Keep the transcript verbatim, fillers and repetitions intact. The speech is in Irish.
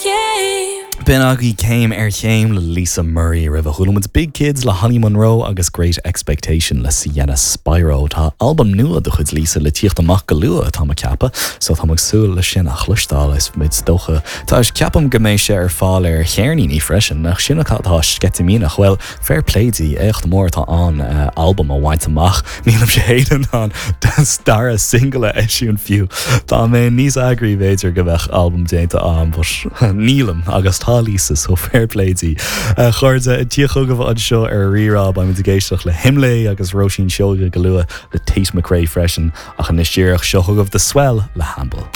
chéim. B'in agaibh céim ar chéim le Lisa Murray roimhe chuala muid Big Kids le Holly Monroe agus Great Expectation le Sienna Spiro Tá albam nua de chuid Lisa le tíocht amach go luath atá mé ag ceapadh, so tá súil le sin a chloisteáil is mid dócha. Tá ceapaim go mbeidh sé ar fáil ar cheirníní freisin nach sin atá sceitimíneach well fair play di éacht mór atá an uh, albam a bhaint amach nílim sé in ann dara single a eisiúint fiú. Tá mé níos eagraí b'fhéidir go mbeadh albam déanta agam nílim agus tá Lisa so fair play di. Chairde tí chugaibh anseo ar Rí-Rá beimid ag éisteacht le Himlé agus Róisín Seoige go luath le Tate McRae freisin ach anois díreach seo chugaibh The Swell le Hamble.